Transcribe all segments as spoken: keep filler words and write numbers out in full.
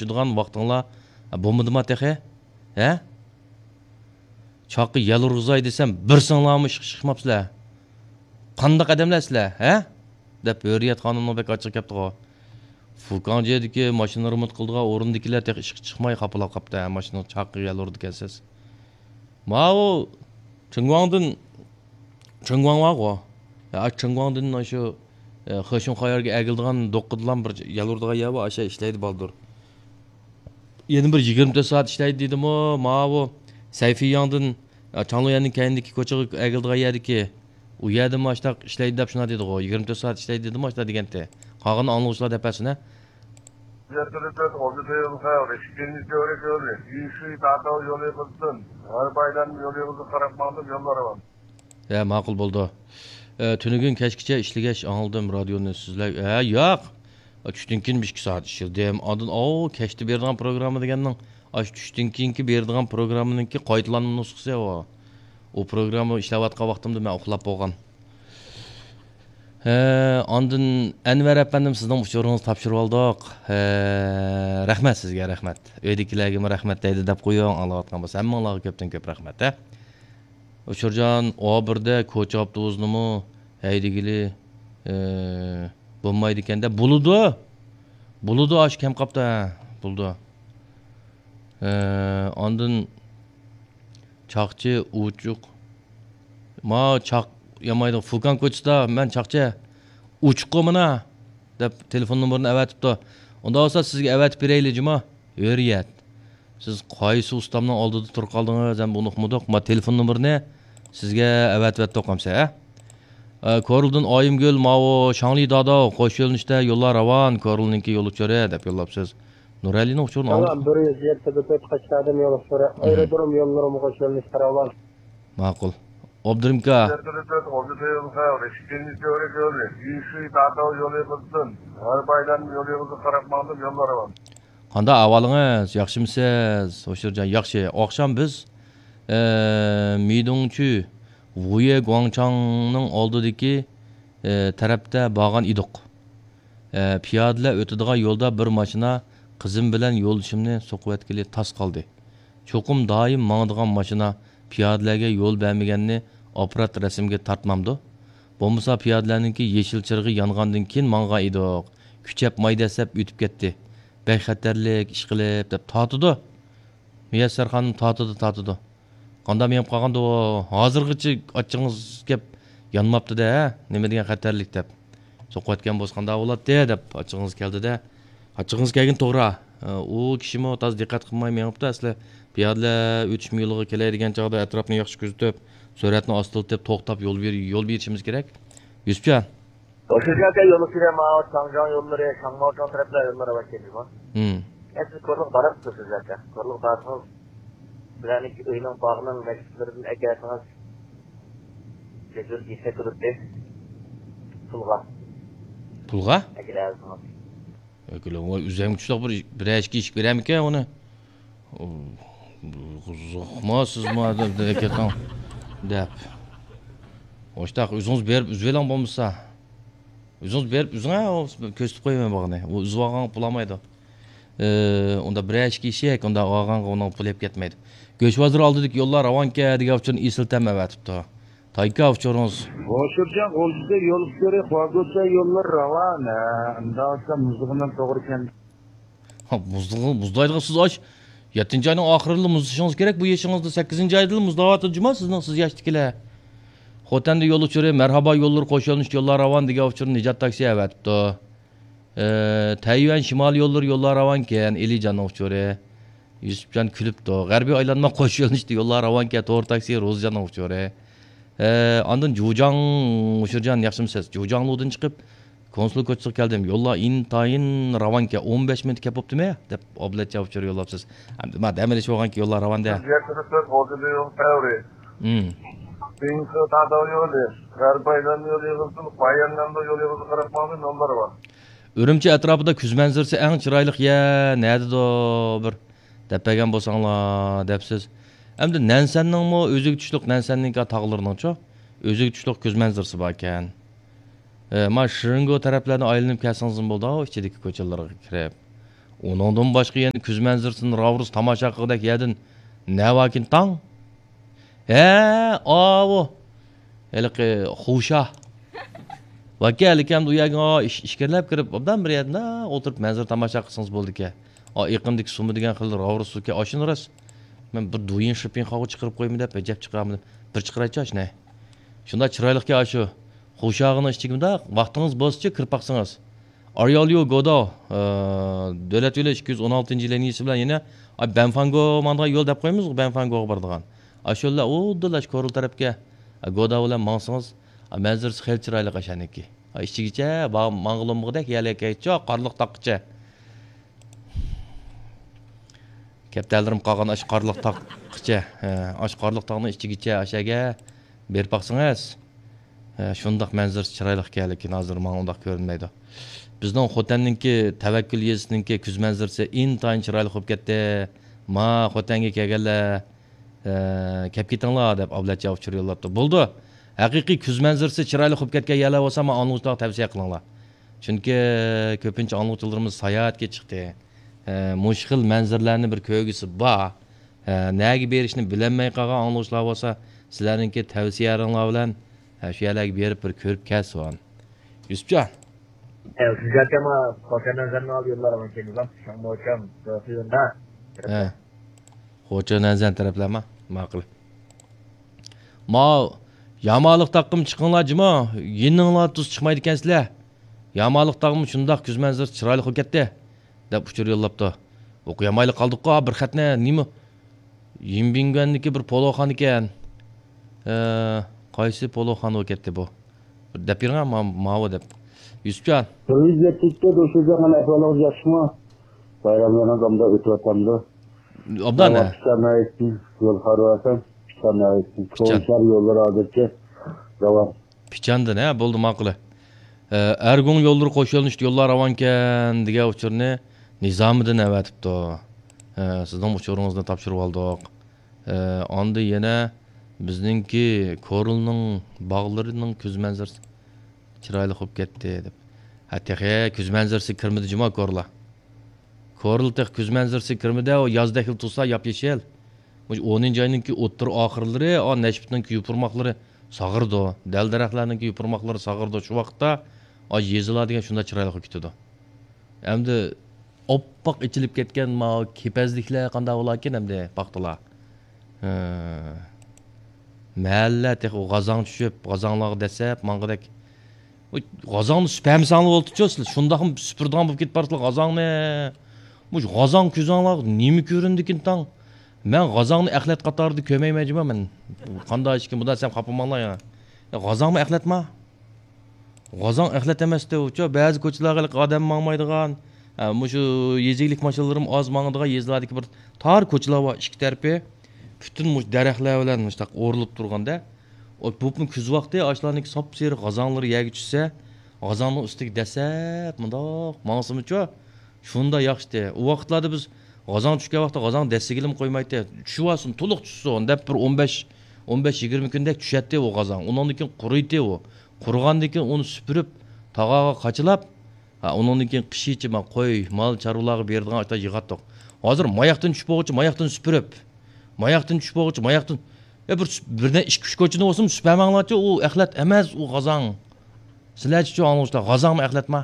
ئۇچىدىغان ۋاقتىڭلار بولمىدىما تېخى؟ ھە؟ چاققا يەل ئۇرغۇزاي دېسەم، بىرسىڭلارمۇ ئىشقا چىقماپسىلەر. قانداق ئادەملەر سىلەر، ھە؟ دەپ ھۆرىيەت خانىمنىڭ بەك ئاچچىقى كەپتىغۇ. فۇكاڭجيېدىكى ماشىنا رېمونت قىلىدىغان ئورۇندىكىلەر تېخى ئىشقا چىقماي خاپىلاپ قاپتۇ، ھە، ماشىنىغا چاققا يەل ئۇرىدىكەنسىز. ماۋۇ چېڭگۇاڭدىن، چېڭگۇاڭ بارغۇ. ھە، ئاشۇ چېڭگۇاڭدىن ئاشۇ، ئە، خېشۇڭخايارغا ئەگىلىدىغان دوققىدىلا بىر يەل ئۇرىدىغان يەر بار، ئاشۇ يەردە ئىشلەيدۇ بالدۇر. يەنە بىر يىگىرمە تۆت سائەت ئىشلەيدۇ دېدىمۇ، ماۋۇ سەيفىياڭدىن، ئە، چاڭلۇيەننىڭ كەينىدىكى كوچىغا ئەگىلىدىغان يەردىكى، ئۇ يەردىمۇ ئاشۇنداق ئىشلەيدۇ دەپ شۇنداق دېدىغۇ، يىگىرمە تۆت سائەت ئىشلەيدۇ دېدىمۇ ئاشۇنداق دېگەنتى. قالغىنىنى ئاڭلىغۇچىلار دەپ بەرسۇن، ھە. يەتتە تۆت ئوبزېتىل خەۋىرى، ئىككىنچى تۈۋرۈك يولى، يۈشۈي تاتاۋ يولى قىزىتىن، غەربىي ئايلاندىن يولى قىزىغا قاراپ ماڭدىم، يوللار راۋان. ھە، ماقۇل بولدى. ئە، تۈنۈگۈن كەچكىچە ئىشلىگەچ ئاڭلىدىم رادىيونى سۆزلەي. ھە، ياق. ئە، چۈشتىن كېيىن بىر ئىككى سائەت ئىشلىدىم. ئاندىن، ئاۋۇ، كەچتە بېرىدىغان پروگرامما دېگەننىڭ، ئاشۇ چۈشتىن كېيىنكى بېرىدىغان پروگراممىنىڭكى قايتىلانما نۇسخىسى ئۇ. ئۇ پروگرامما ئىشلەۋاتقان ۋاقتىمدا مەن ئۇخلاپ بولغان. ھە، ئاندىن ئەنۋەر ئەپەندىم، سىزنىڭ ئۇچۇرىڭىزنى تاپشۇرۇۋالدۇق. ھە، رەھمەت سىزگە، رەھمەت. ئۆيدىكىلەرگىمۇ رەھمەت دەيدۇ دەپ قويۇڭ، ئاڭلاۋاتقان بولسا. ھەممىڭلارغا كۆپتىن كۆپ رەھمەت، ھە. ئۇچۇرجان، ئۇ بىردە كوچا ئاپتوبۇسىنىمۇ ھەيدىگىلى، ئە، بولمايدىكەن-دە. بولىدۇ. بولىدۇ، ئاشۇ كەم قاپتۇ، ھە. بولىدۇ. ئە، ئاندىن چاقچى ئوچۇق. ما چاق يامايدۇ. فۇكاڭ كوچىسىدا مەن چاقچى ئوچۇققۇ مانا دەپ تېلېفون نومۇرىنى ئەۋەتىپتۇ. ئۇنداق بولسا سىزگە ئەۋەتىپ بېرەيلى جۇما. ھۆرىيەت. سىز قايسى ئۇستامنىڭ ئالدىدا تۇرۇپ قالدىڭىز ھەم ئۇنۇقمىدۇق؟ ما تېلېفون نومۇرىنى سىزگە ئەۋەتىۋەتتۇق ئەمسە، ھە؟ ئە، كورلىدىن ئايىمگۈل، ماۋۇ شاڭلى داداۋ، قوش يۆنىلىشتە يوللار راۋان، كورلىنىڭكى يول ئۇچۇرى دەپ يوللاپسىز. نۇرئەلىنىڭ ئۇچۇرىنى ئالدۇق. بىر يۈز يەتتە بىر تۆت قاچقادىن يول ئۇچۇرى. ئايرودروم يوللىرىمۇ قوش يۆنىلىشتە راۋان. ماقۇل. ئابدۇرېھىمكا. يەتتە بىر تۆت ئوبزېتىل خەۋىرى، ئىككىنچى تۈۋرۈك يولى، يۈشۈي تاتاۋ يولى قىزىتىن، غەربىي ئايلاندىن يولى قىزىغا قاراپ ماڭدىم، يوللار راۋان. قانداق ئەھۋالىڭىز؟ ياخشىمۇسىز؟ ھوشۇرجان، ياخشى. ئاخشام بىز، ئە، مىدۇڭچۈ ۋۇيې گۇاڭچاڭنىڭ ئالدىدىكى، ئە، تەرەپتە بارغان ئىدۇق. ئە، پىيادىلەر ئۆتىدىغان يولدا بىر ماشىنا قىزىم بىلەن يولدىشىمنى سوقۇۋەتكىلى تاس قالدى. چوقۇم دائىم ماڭىدىغان ماشىنا پىيادىلەرگە يول بەرمىگەننى ئاپپارات رەسىمگە تارتمامدۇ؟ بولمىسا پىيادىلەرنىڭكى يېشىل چىرىغى يانغاندىن كېيىن ماڭغان ئىدۇق. كۈچەپ ماي دەسسەپ ئۆتۈپ كەتتى. بەك خەتەرلىك ئىشقىلىپ دەپ تارتىدۇ. مۇيەسسەر خانىم تارتىدۇ، تارتىدۇ. قانداق مېڭىپ قالغاندۇ ئۇ؟ ھازىرغىچە ئاچچىقىڭىز كەپ يانماپتۇ-دە، ھە؟ نېمە دېگەن خەتەرلىك دەپ. سوقۇۋەتكەن بولسا قانداق بولاتتى دەپ ئاچچىقىڭىز كەلدى-دە. ئاچچىقىڭىز كەلگىنى توغرا. ئۇ كىشىمۇ تازا دىققەت قىلماي مېڭىپتۇ ئەسلى. پىيادىلەر ئۆتۈشمە يولىغا كېلەي دېگەن چاغدا ئەتراپنى ياخشى كۆزىتىپ، سۈرئەتنى ئاستىلىتىپ، توختاپ يول بېر-، يول بېرىشىمىز كېرەك. يۈسۈپجان. ئوشۇرجان ئاكا، يول ئۈستىدە ماۋۇ چاڭجياڭ يوللىرى، شاڭماۋچاڭ تەرەپلەر يوللىرى بار ئىكەن جۇمۇ. ھىم. ئە، سىز كورلىغا بارىسىز سىز ئاكا. كورلىغا بارسىڭىز، سىلەرنىڭ ئۆينىڭ، باغنىڭ نەشتىلىرىدىن ئەكەلسىڭىز، بەك زور يېسەك بولاتتى. پۇلغا. پۇلغا؟ ئەكېلەلىسىڭىز. ئەكېلە، ۋاي، ئۆزۈم كۈچلۈك بىر، بىرەر ئىككى ئىشىك بېرەرمىكەن ئۇنى؟ ئۇ، قىزىقما سىزما دەپ، دەپ كېتىڭ، دەپ. ئوشتاق، ئۆزىڭىز بېرىپ ئۈزۈۋېلىڭ بولمىسا. ئۆزىڭىز بېرىپ ئۈزۈڭ، ھە، ئۇ كۆرسىتىپ قويىمەن باغنى. ئۇ ئۈزۈۋالغانغا پۇل ئالمايدۇ. ئى، ئۇندا بىرەر ئىككى ئىشىك، ئۇندا ئالغانغا ئۇنىڭ پۇلى ئېلىپ كەتمەيدۇ. گۆش بازىرى ئالدىدىكى يوللار راۋانكەن دېگەن ئۇچۇرنى ئېسىل تەم ئەۋەتىپتۇ. تايكا ئۇچۇرىڭىز. ھوشۇرجان غۇلجىدا يول ئۈستى، خۇاگوچيا يوللىرى راۋان. ھە، ئۇنداق بولسا مۇزلىغىنىڭ توغرا ئىكەن. ھا، مۇزلىغان، مۇزلايدىغان سىز ئاش. يەتتىنچى ئاينىڭ ئاخىرىدا مۇزلىشىڭىز كېرەك بۇ يېشىڭىزدا. سەككىزىنچى ئايدا مۇزلاۋاتىدۇ جۇما سىزنىڭ، سىز ياشتىكىلەر. خوتەندە يول ئۇچۇرى، مەرھابا يوللىرى قوش يۆنىلىشتە يوللار راۋان دېگەن ئۇچۇرنى نىجات تاكسى ئەۋەتىپتۇ. ئى، تەييۈەن شىمالىي يوللىرى يوللار راۋانكەن، ئېلىجاننىڭ ئۇچۇرى. يۈسۈپجان كۈلۈپتۇ. غەربىي ئايلانما قوش يۆنىلىشتە يوللار راۋانكەن، تور تاكسى، روزىجاننىڭ ئۇچۇرى. ئى، ئاندىن جۇجاڭ، ھوشۇرجان ياخشىمۇسىز؟ جۇجاڭلۇدىن چىقىپ، كونسۇل كوچىسىغا كەلدىم. يوللار ئىنتايىن راۋانكەن، ئون بەش مىنۇت كەپ بوپتىمۇ؟ دەپ ئابلەتچە ئۇچۇر يوللاپسىز. ئەمدى ما دەم ئېلىش بولغانكى يوللار راۋان دە. يەتتە تۆت ئوبزېتىل خەۋىرى. ھىم. بىڭخې تاتاۋ يولى، غەربىي ئايلاندىن يول ئېغىزىدىن، بايەننەن يول ئېغىزىغا قاراپ ماڭدى، نومۇر بار. ئۈرۈمچى ئەتراپىدا كۈز مەنزىرىسى ئەڭ چىرايلىق يەر نەدىدۇ بىر دەپ بەرگەن بولساڭلار دەپسىز. ئەمدى نەنسەننىڭمۇ ئۆزىگە چۈشلۈك، نەنسەننىڭكى تاغلىرىنىڭچۇ ئۆزىگە چۈشلۈك كۈز مەنزىرىسى باركەن. ئە، ما شىرىنگو تەرەپلەرنى ئايلىنىپ كەلسىڭىزمۇ بولىدۇ، ئىچىدىكى كوچىلارغا كىرىپ. ئۇنىڭدىن باشقا يەنە كۈز مەنزىرىسىنى راۋۇرۇس تاماشا قىلغۇدەك يەردىن نەۋاكىن تاڭ؟ ھە، ئاۋۇ. ھېلىقى خۇشا. ۋاكى ھېلىكى ئەمدى ئۇ يەرگە ئىش-، ئىچكىرىلەپ كىرىپ، ئوبدان بىر يەردە ئولتۇرۇپ مەنزىرە تاماشا قىلسىڭىز بولىدىكەن. ئا، ئېقىندىكى سۇمۇ دېگەن خىل راۋۇرۇس سۇكەن، ئاشۇنى راست. مەن بىر دۇيىن شىپىن قاغا چىقىرىپ قويىمەن دەپ، ئەجەب چىقىرامدىم. بىر چىقىرايچۇ ئاشۇنى. شۇنداق چىرايلىقكەن ئاشۇ. خۇشاغىنىڭ ئىچىگە مۇنداق، ۋاقتىڭىز بولسىچۇ كىرىپ باقسىڭىز. ئارياليو گودا، ئە، دۆلەت يولى ئىككى يۈز ئون ئالتىنچى لىنىيىسى بىلەن يەنە، ئا، بەنفاڭگو ماڭىدىغان يول دەپ قويىمىز، بەنفاڭگوغا بارىدىغان. ئاشۇ يوللار ئۇددىلا ئاشۇ كورلا تەرەپكە، ئا، گودا بىلەن ماڭسىڭىز، ئا، مەنزىرىسى خېلى چىرايلىق ئاشۇنىڭكى. ئا، ئىچىگىچە با-، ماڭغىلى بولمىغۇدەك يەرلەرگە كەلگەنچۇ، قارلىق تاغقىچە. كەپتەرلىرىم قالغان ئاشۇ قارلىق تاغقىچە، ھە، ئاشۇ قارلىق تاغنىڭ ئىچىگىچە ئاشەگە بېرىپ باقسىڭىز، ھە، شۇنداق مەنزىرىسى چىرايلىق ئىكەن، لېكىن ھازىر ماڭا ئۇنداق كۆرۈنمەيدۇ. بىزنىڭ خوتەننىڭكى تەۋەككۈل يېزىسىنىڭكى كۈز مەنزىرىسى ئىنتايىن چىرايلىق بولۇپ كەتتى. ما خوتەنگە كەلگەنلەر، ھە، كەپ كېتىڭلار دەپ ئابلەتجان ئۇچۇر يوللاپتۇ. بولىدۇ. ھەقىقىي كۈز مەنزىرىسى چىرايلىق بولۇپ كەتكەن يەرلەر بولسا، ما ئاڭلىغۇچىلارغا تەۋسىيە قىلىڭلار. چۈنكى كۆپىنچە ئاڭلىغۇچىلىرىمىز ساياھەتكە چىقتى. ئە، مۇشۇ خىل مەنزىرىلەرنى بىر كۆرگۈسى بار. ئە، نەگە بېرىشنى بىلەلمەي قالغان ئاڭلىغۇچىلار بولسا، سىلەرنىڭكى تەۋسىيەلىرىڭلار بىلەن، ئە، شۇ يەرلەرگە بېرىپ بىر كۆرۈپ كەلسۇن. يۈسۈپجان. ئە، سىزگە ئەمما خوتەن نەزەرنى ئالدى يوللار ئەمەس كېلىدۇ. شاڭمۇچام، سۆفىيوندا. ھە. خوتەن نەزەر تەرەپلەرما؟ ماقۇل. ماۋۇ يامالىق تاغقىمۇ چىقىڭلار جۇمۇ، يېنىڭلار تۇز چىقمايدىكەنسىلەر. يامالىق تاغمۇ شۇنداق كۈز مەنزىرىسى چىرايلىق بولۇپ كەتتى، دەپ ئۇچۇر يوللاپتۇ. ئوقۇيالمايلا قالدۇققۇ بىر خەتنى، نېمە؟ يىنبىڭگۈەندىكى بىر پولۇخان ئىكەن. ئە، قايسى پولۇخان بولۇپ كەتتى بۇ؟ بىر دەپ بېرىڭە، ما-، ماۋۇ دەپ. يۈسۈپجان. بىر يۈز يەتتە ئىككى دوشۇزەننىڭ ئەھۋالىڭىز ياخشىمۇ؟ بايراملىرىڭىز ئوبدان ئۆتۈۋاتامدۇ؟ ئوبدان، ھە. پىچان ناھىيەسىدىن يول خارۋاسان، پىچان ناھىيەسىدىن. پىچان. كوچىلار يوللىرى ھازىرچە راۋان. پىچاندىن، ھە، بولدى، ماقۇل. ئە، ئەرگۇڭ يوللىرى قوش يۆنىلىشتە يوللار راۋانكەن دېگەن ئۇچۇرنى نىزامىدىن ئەۋەتىپتۇ. ئە، سىزنىڭ ئۇچۇرىڭىزنى تاپشۇرۇۋالدۇق. ئە، ئاندىن يەنە بىزنىڭكى كورلىنىڭ باغلىرىنىڭ كۈز مەنزىرىسى چىرايلىق بولۇپ كەتتى دەپ. ھە، تېخى كۈز مەنزىرىسىگە كىرمىدى جۇما كورلا. كورلا تېخى كۈز مەنزىرىسىگە كىرمىدى، ئۇ يازدەكلا تۇرسا ياپيېشىل. مۇشۇ ئونىنچى ئاينىڭكى ئوتتۇرا ئاخىرلىرى، ئا، نەشپۈتنىڭكى يوپۇرماقلىرى ساغىرىدۇ. دەل-دەرەخلەرنىڭكى يوپۇرماقلىرى ساغىرىدۇ. شۇ ۋاقىتتا، ئا، يېزىلار دېگەن شۇنداق چىرايلىق بولۇپ كېتىدۇ. ئەمدى ئاپئاق ئېچىلىپ كەتكەن ماۋۇ كېپەزلىكلەر قانداق بولاركىن ئەمدى پاختىلار؟ ھە. مەھەللە تېخى غازاڭ چۈشۈپ، غازاڭلارغا دەسسەپ ماڭغۇدەك. ئۇ غازاڭنى سۈپەمىسەڭلار بولدىچۇ سىلەر. شۇنداقمۇ سۈپۈرىدىغان بولۇپ كېتىپ بارسىلەر غازاڭنى. مۇشۇ غازاڭ كۆزۈڭلارغا نېمە كۆرۈندىكىن تاڭ؟ مەن غازاڭنى ئەخلەت قاتارىدا كۆرمەيمەن جۇما مەن. قانداق ئىشكىن، بۇنداق دېسەم خاپا بولماڭلار يەنە. يا غازاڭمۇ ئەخلەتما؟ غازاڭ ئەخلەت ئەمەستى ئۇچۇ. بەزى كوچىلارغا ھېلىقى ئادەم ماڭمايدىغان، ئە، مۇشۇ يېزا ئىگىلىك ماشىنىلىرىمۇ ئاز ماڭىدىغان يېزىلاردىكى بىر تار كوچىلار بار، ئىككى تەرىپى پۈتۈن مۇشۇ دەرەخلەر بىلەن مۇشۇنداق ئورۇلۇپ تۇرغاندا، ئو، بۇپمۇ كۈز ۋاقتى ئاشۇلارنىڭكى ساپسېرىق غازاڭلىرى يەرگە چۈشسە، غازاڭنىڭ ئۈستىگە دەسسەپ مۇنداق ماڭسىمۇچۇ، شۇنداق ياخشىتى. ئۇ ۋاقىتلاردا بىز غازاڭ چۈشكەن ۋاقىتتا غازاڭ دەسسىگىلىمۇ قويمايتتى. چۈشۈۋالسۇن، تولۇق چۈشسۇن دەپ بىر ئون بەش، ئون بەش يىگىرمە كۈندەك چۈشەتتى ئۇ غازاڭ. ئۇنىڭدىن كېيىن قۇرۇيتتى ئۇ. قۇرۇغاندىن كېيىن ئۇنى سۈپۈرۈپ، تاغارغا قاچىلاپ، ھە، ئۇنىڭدىن كېيىن قىشىچە مانا قوي، مال، چارۋىلارغا بېرىدىغان ئاشۇنداق يىغاتتۇق. ھازىر ماياقتىن چۈشۈپ بولغۇچە ماياقتىن سۈپۈرۈپ، ماياقتىن چۈشۈپ بولغۇچە ماياقتىن، ئە، بىر، بىر نە-، ئىككى، ئۈچ كوچىنى بولسىمۇ سۈپۈرمەڭلارچۇ، ئۇ ئەخلەت ئەمەس، ئۇ غازاڭ. سىلەرچىچۇ ئاڭلىغۇچىلار، غازاڭمۇ ئەخلەتما؟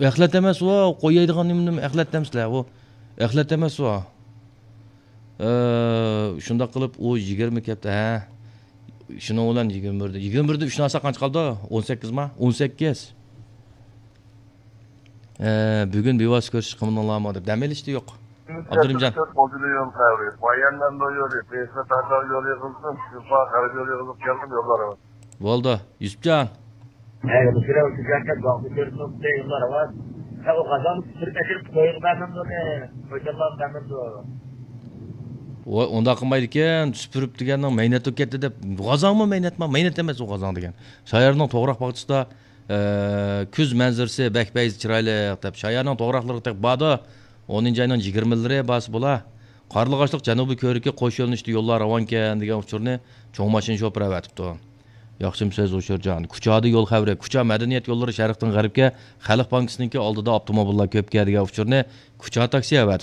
ئەخلەت ئەمەس ئۇ، قويايدىغان نېمە، نېمە ئەخلەت دەمسىلەر ئۇ؟ ئەخلەت ئەمەس ئۇ. ئە، شۇنداق قىلىپ ئۇ يىگىرمە كەپتە، ھە. شۇنىڭ بىلەن يىگىرمە بىردە، يىگىرمە بىردە ئۈچنى ئالساق قانچە قالدى؟ ئون سەككىزما؟ ئون سەككىز. ئە، بۈگۈن بىۋاسىتە كۆرۈشۈش قىلمىدىڭلارمۇ دەپ دەم ئېلىشتا يوق. ئابدۇرېھىمجان. تۆت موزىلى يول قەۋرى، بايەنلەندو يولى، بېيسىنى تارتاۋ يولى يىغىلدىم، شىفا غەرب يولى يىغىلىپ كەلدىم يوللار. بولدى، يۈسۈپجان. ھە، مۇشۇ يەردە بىر باغدا كۆرۈپ تۇرۇپتۇ يوللار ئەمەس. ھە، ئۇ غازاڭنى سۈپۈرۈپ ئەكىرىپ قويغا بەرمەمدۇ، قويچانلارغا بەرمەمدۇ. ۋاي، ئۇنداق قىلمايدىكەن، سۈپۈرۈپ دېگەننىڭ مەينەت بولۇپ كەتتى دەپ. غازاڭمۇ مەينەتما؟ مەينەت ئەمەس ئۇ غازاڭ دېگەن. شايارنىڭ توغراق باغچىسىدا، ئە، كۈز مەنزىرىسى بەك پەيزى چىرايلىق دەپ. شايارنىڭ توغراقلىرىغا تېخى باردۇ. ئونىنچى ئاينىڭ يىگىرمىلىرى بارسا بولا. قارلىغاچلىق جەنۇبىي كۆۋرۈكى قوش يۆنىلىشتە يوللار راۋانكەن دېگەن ئۇچۇرنى چوڭ ماشىنا شوپۇرى ئەۋەتىپتۇ. ياخشىمۇ سىز، ئۇچۇرجان؟ كۇچادا يول خەۋىرى. كۇچا مەدەنىيەت يوللىرى شەرقتىن غەربكە، خەلق بانكىسىنىڭكى ئالدىدا ئاپتوموبىللار كۆپكە دېگەن ئۇچۇرنى كۇچا تاكسى ھەۋەر